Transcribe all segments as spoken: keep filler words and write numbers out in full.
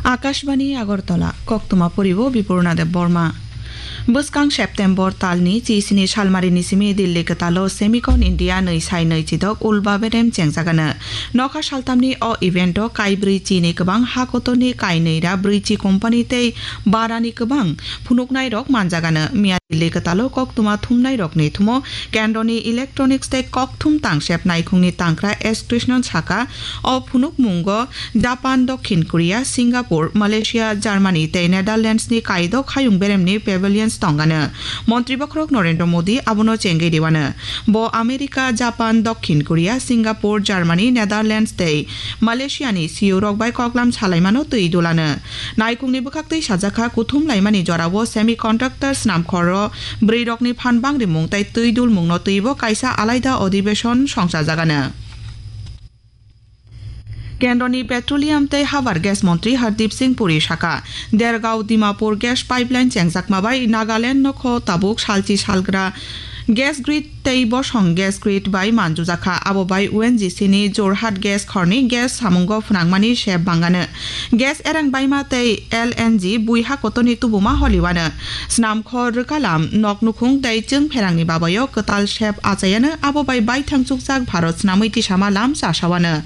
Akashbani Agartala, koktwma poribo Bipurna Deb Borma. Bwskang September talni chisini salmarini simi Delhi kwtalo Semicon India nwi sai nwi chidok ulba berem chengjagano. Nokha saltamni o evento kaibrwi chini kwbang ha kotorni kainwi ra brwi chi company tei barani kwbang phunuknairok manjagano. Miya Delhi kwtalo koktwma thumnairokni thumo kendroni electronics tei kokthum tangsep naikhungni tangkra S Krishnan saka, o phunukmungo Japan, Dokhin Korea, Singapore, Malaysia, Germany tei Netherlands ni kaidok hayung beremni pavilions tongano. Montri bokhorok Narendra Modi abono chengwi riwano. Bo America, Japan, Dokhin Korea, Singapore, Germany, Netherlands tei Malaysia ni C E O rok bai koklam salaimano twi dulano. Naikhungni bwkhaktwi sajakha kuthum laimani jorao semiconductor snamkhoro bwrwi rokni phan bangrimung tei twi dulmungno twibo kaisa alaida adhibeshon songchajagano. Kendroni Petroleum tei Habar Gas Montri Hardeep Singh Puri saka, Dergaon Dimapur Gas Pipeline chengjakma bai Nagaland no kho tabuk salchi salgra gas grid tei bosong gas grid bai manjujakha. Abo bai O N G C ni Jorhat gas khorni gas samungo phwnangmani sep bangano. Gas erang baima tei L N G buiha kotorni tubuma holiwano. Snamkhor rwkalam, nok nukhung tei chwng pherangni babayo kwtal sep achayano, abo bai baithang chukjak Bharat snamwi tisama lam chasawano.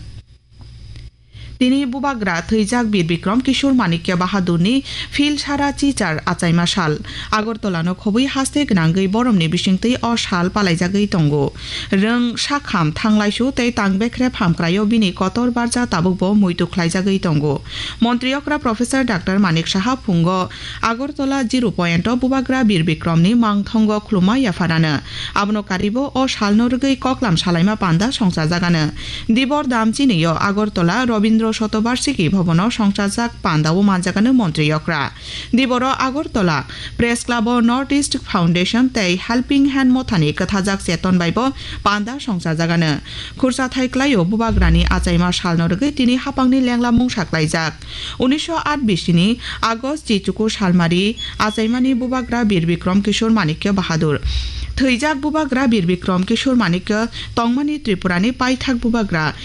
Tini bubagra thwijak Bir Bikram Kishore Manikya Bahadurni Philsara Chichar achaima sal. Agartala no khobwi haste gwnangwi boromni bisingtwi o sal palaijagwi tongo. Rwng, sakham, thanglaisu tei tang bekhrep hamkraio bini kotor barja tabukbo muitu khlaijagwi tongo. Montri okra Professor Doctor Manik Saha phungo Agartala Zero Point o bubagra Bir Bikramni mangthongo khulumma yapharano. Abono karibo o salno rwgwi koklam salaima panda songchajagano. Dibor dam chinio Agartala Rabindra Shatobarshiki Bhavan o songchajak panda o manjagano montri okra. Diboro Agartala Press Club o North East Foundation tei Helping Hand mothani kwthajak cheton bai bo panda songchajagano. Khursa thai klaio bubagrani achaima salno rwgwi tini hapangni lengla mungsa klaijak. Unisho at bisini August chichuku salmari achaimani bubagra Bir Bikram Kishore Manikya Bahadur. Thwijak bubagra Bir Bikram Kishore Manikya tongmani Tripurani paithak bubagra